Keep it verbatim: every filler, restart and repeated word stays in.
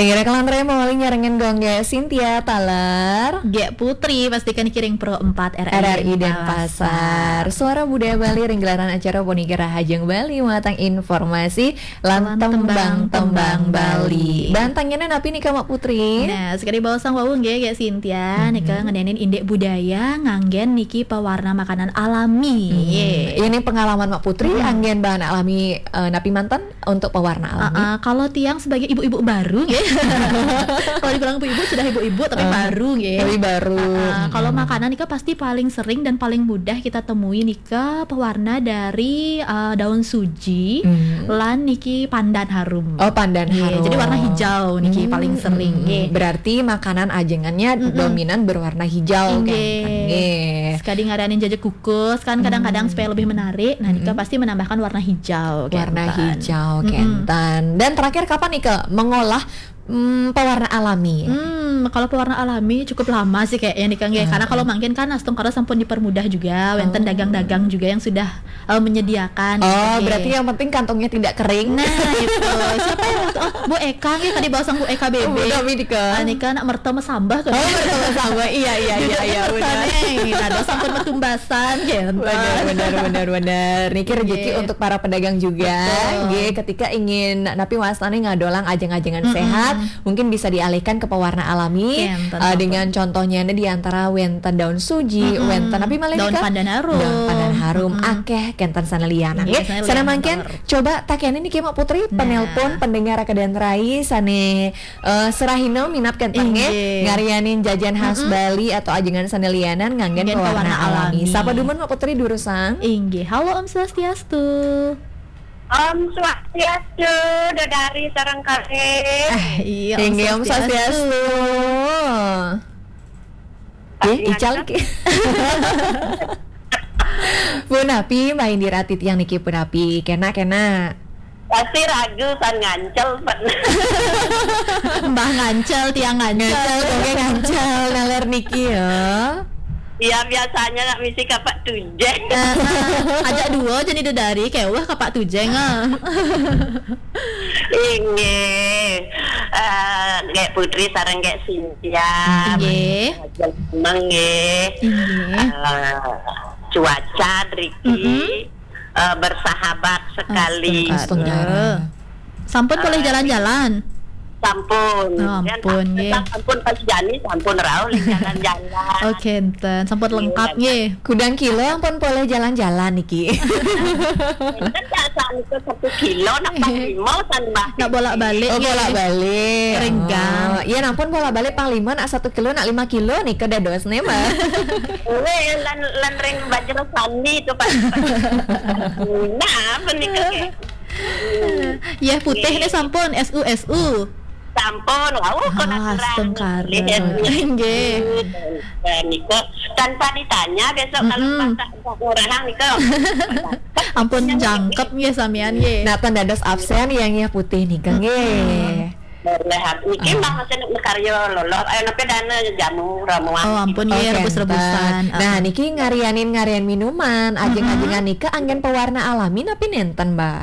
Inggih, kalantar mawali nyarengin gong Gék Cynthia taler. Gék Putri, pastikan kiring Pro empat R R I Denpasar. Suara Budaya Bali ring gelaran acara Ponigara Hajeng Bali, matang informasi lan tembang-tembang Bali. Bantangnya napi nika, Mak Putri? Nah, sekali baosang wau nggih, Gék Cynthia, nika ngenénin indik budaya nganggén niki pewarna makanan alami. Ini pengalaman Mak Putri, anggén bahan alami, eh, napi manten? Untuk pewarna alami. Ah, ah, kalau tiang sebagai ibu-ibu baru, ya. Kalau dibilang ibu-ibu, sudah ibu-ibu, tapi baru, ya. Tapi baru. Ah, ah, kalau makanan nika pasti paling sering dan paling mudah kita temui nika pewarna dari, ah, daun suji, lan niki pandan harum. Oh, pandan harum. Jadi warna hijau niki paling sering, ya. Berarti makanan ajengannya dominan berwarna hijau, kan? Nggih. Sekali ngadain jaja kukus, kan kadang-kadang supaya lebih menarik, nah, nika pasti menambahkan warna hijau. Warna hijau, kénten. Dan terakhir, kapan nih, Kak, mengolah, mm, pewarna alami? Hmm, kalau pewarna alami cukup lama sih kayaknya nih, Kang, ya. Karena kalau mangkin kan astungkara sampun dipermudah juga, wénten dagang-dagang juga yang sudah, eh, menyediakan. Oh, berarti yang penting kantongnya tidak kering. Nah, itu. Siapa yang waktu, oh, Bu Eka, nggih, tadi baosang Bu Eka, Bu Bebe. Eka, nika nak merta mesambah, kan? Oh, merta mesambah. Iya, iya, iya, iya, benar. Nah, sampun metumbas. Bener, bener, bener, bener. Niki rezeki untuk para pedagang juga. Betul. Nggih, ketika ingin napi wastané ngadolang ajeng-ajengan sehat, mungkin bisa dialihkan ke pewarna alami, eh, dengan contohnya ini di antara wénten daun suji, wénten napi malih, daun pandan harum. Daun pandan harum, akéh kénten sané lianan, nggih. Sané mangkin, coba takénin niki, Mak Putri, penelpon pendengar Kedan Rai sané Eh, serahina minab kénten nggih, ngarianin jajan khas Bali atau ajengan sané lianan nganggén pewarna alami. Sapa dumun, Mak Putri, durusang? Inggih. Halo, Om Swastiastu. Om Swastiastu, dedari sareng kalih. Ah, iya, Om Swastiastu. Inggih, Om Swastiastu. Nggih, ical niki. Punapi, main dirati tiang niki punapi. Kénak, kénak. Pasti ragu kan ngancel, Pak. Mbah ngancel, tiang ngancel. Ngancel, oke, ngancel. Naler niki ya. Ya, biasanya nak misi Kapak Tujeng. Eh, eh, ajak dua jadi dedari, kayak wah Kapak Tujeng, ah. Inggih. Eh, Gék Putri sareng Gék Cynthia. Inggih. Seneng nggih. Inggih. Eh, cuaca driki, eh, bersahabat sekali. Astungkara. Sampun polih jalan-jalan? Sampun. Oh, ampun, nggih. Sampun pas jani, sampun rauh jalan-jalan. Oke, enten. Sampun lengkap, nggih. Kudang kilo ampun polih jalan-jalan niki. Enten tak satu kilo, nak Panglima, san Mbah. Nak bolak-balik, nggih. Oh, bolak-balik. Ring gang. Oh, iya, ampun bolak-balik Panglima, nak satu kilo, nak lima kilo nika dadosné, Mbah. Wéh, lan, lan ring Bajra Sani itu, Pak. Nah, apa nih, Kak? Yéh putih nih sampun, S U, S U. Sampun, wau, kok natural. Astungkara. Nggih. Nah, niku tanpa ditanya besok kalau pas ngurahang niku. Ampun jangkep nggih samian nggih. Nak tan dados absén yang yéh putih nika nggih. Boleh, niki mah masih makarya lolo. Ayo, napi dana jamu ramuan. Oh, ampun, nggih, rebus-rebusan. Nah, niki ngarianin ngarian minuman, ajeng-ajengan nika anggén pewarna alami napi nénten, Mbah?